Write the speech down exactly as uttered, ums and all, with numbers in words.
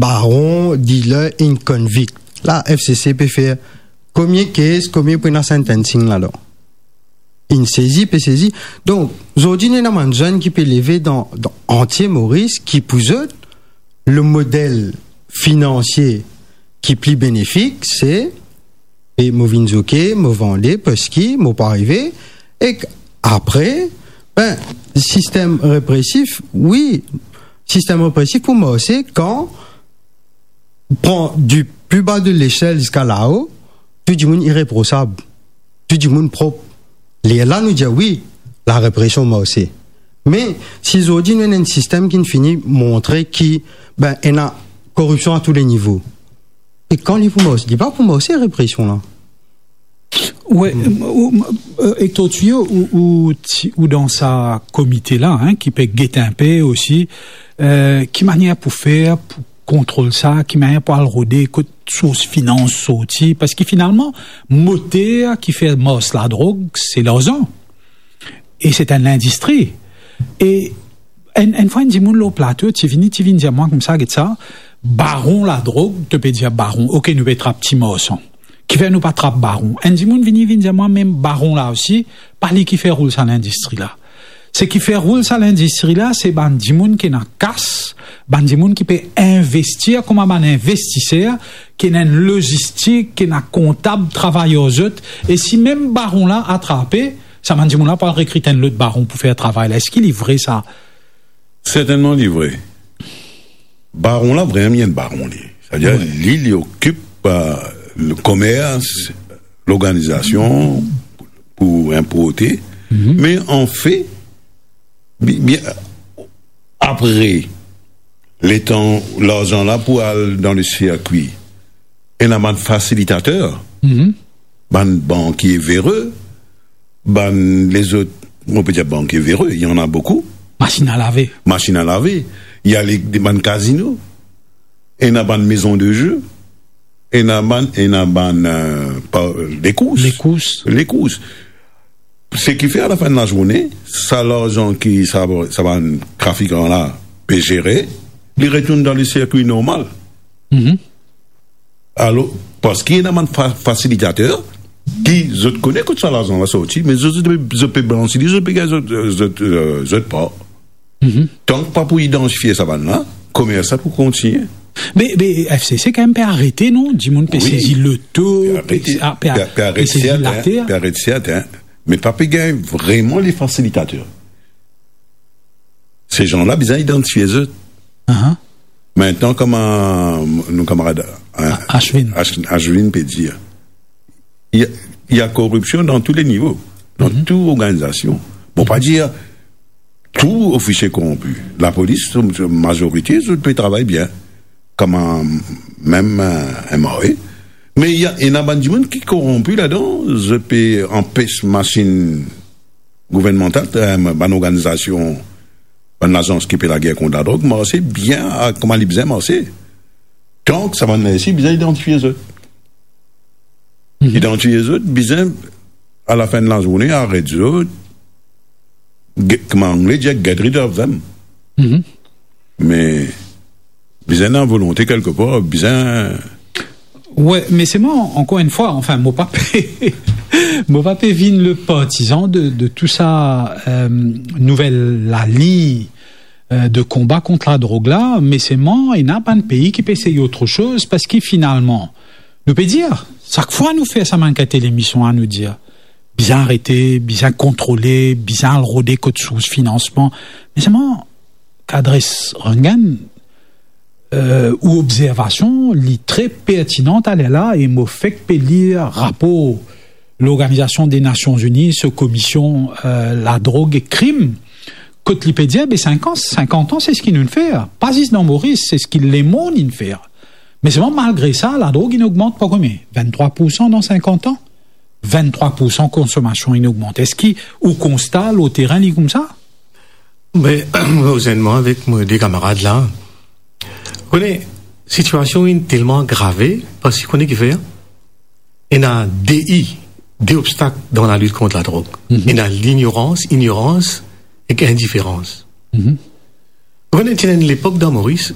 baron, dealer, inn convict. La, F C C pe fer komie kes, komie pou ena sentencing ladan. Inn sezi, pe sezi. Donk, zordi, nou ena bann zenn ki pe leve dan, dan antie Moris, ki pou zot, le model finansie ki pli benefik, se, e mo vinn zoke, mo vande, parski mo pa arive, ek apre, ben, sistem represif, wi, sistem represif pou marse kan pran di pli ba de lesel ziska lao, tou dimoun ireprosab, tou dimoun prop. Lerla nou dir wi, larepresion marse. Me si zordi nou ena enn sistem ki fini montre ki, ben, ena koripsion a tou le nivo, e kan li pou marse? Li pa pou marse, represion la. Wi, ou, ou, e to, ou, ou, ti, ou dan sa komite la, hein, ki pe get inpe osi, euh, ki manier pou fer pou kontrol sa, ki manier pou al rode kot sours finans sorti, parski finalman, moter ki fer mars ladrog, se larzan. E se enn lindistri. E enn, enn fwa, enn dimoun lor plato, ti vini, ti vinn dir mwa koumsa, get sa, baron ladrog, to pe dir baron, ok, nou pe trap ti marsan. Kifer nou pa trap baron? Enn dimoun vini, vinn dir mwa, mem baron la osi, pa li ki fer roul sa lindistri la. Seki fer roul sa lindistri la, se bann dimoun ki ena kas, bann dimoun ki pe investir kouma bann investiser, ki ena enn lozistik, ki ena kontab travay ar zot, e si mem baron la atrape, sa bann dimoun la pou al rekrit enn lot baron pou fer travay la. Eski li vre sa? Sertennman, li vre. Baron la, vremem, li enn baron, li. Savedir, wi, li, li okip, euh, le komers, lorganizasion pou inporte. Mhm. Me anfet, bi-, bien, apre, letan larzan la pou al dan le sirkwi, ena bann fasilitater, mhm, bann bankie vere, bann lezot, on pe dir bankie vere, il y en a beaucoup. Masinn a lave. Masinn a lave. Il y a les, bann kazino. Ena bann maison de jeu. Ena bann, ena bann, euh, pa, lekous. Lekous. Lekous. Seki fer, a la fin de lazourne, sa larzan ki sa, sa bann trafikan la pe zere, li retourn dan le sirkwi normal. Mhm. Alor, parski ena bann fa-, fasilitater ki zot kone kot sa larzan la sorti, me zot, zot, zot pe blansi li, zot pe gagn zot, zot, euh, zot par. Mhm. Tank pa pou idantifie sa bann la, komers la pou kontigne. Me, me F C C kanmem pe arete, non? Dimoun pe, wi, sezi loto, pe arete, pe, ah, pe, pe, pe aret sezi serten, later, pe aret serten, me pa pe gagn vreman le fasilitater. Se jan la bizin idantifie zot. Aha. Mintnan, kouma nou kamarad, hein, Ashwin. Ash-, Ashwin pe dir, il y a, il y a koripsion dan tou le nivo, dan, mhm, tou organizasion. Bon, pa dir tou ofisie koronpi. Lapolis, mazorite, zot pe travay bien. Kouma mem, euh, M R A. Me il y a, ena bann dimoun ki koronpi ladan, zot pe anpes masinn gouvernmantal, euh, bann organizasion, bann lazans ki pe lager kont ladrog, marse bien, a, kouma li bizin marse. Donk, sa bann la osi bizin idantifie zot. Mhm. Idantifie zot, bizin, a la fin de lazourne, aret zot, get, kouma Angle dir, get rid of them. Mhm. Me bizin ena volonte kelkepar, bizin. Wi, me selman, ankor enn fwa, anfin, mo pa pe, mo pa pe vinn le partizan de, de tou sa, euh, nouvel lalign, euh, de konba kont ladrog la, me selman, ena bann pei ki pe esey otresoz, parski finalman, nou pe dir, sak fwa nou fer sa bann kalite lemision la, nou dir, bizin arete, bizin kontrole, bizin al rode kot sours finansman. Me selman, Kadres Rangan, euh, ou obzervasion, li tre pertinan taler la, e mo fek pe lir rapor Lorganizasion de Nasion Ini, so komisyon, euh, ladrog ek krim, kot li pe dir, be, sinkant, sinkant an, se seki nou'nn fer. Pa zis dan Moris, se seki lemond inn fer. Me selman, malgre sa, ladrog inn ogmant par konbien? Vinn-trwa poursan dan sinkant an. Vinn-trwa poursan konsomasion inn ogmante. Eski ou konsta lor terin li koumsa? Me, mo zenn mwa avek mo de kamarad la. Kone, sitiasion inn telman agrave, parski kone kifer? Ena de I, de obstak dan lalit kont ladrog. Mhm. Ena lignorans, ignorans ek indiferans. Mhm. Kone, ti ena enn lepok dan Moris,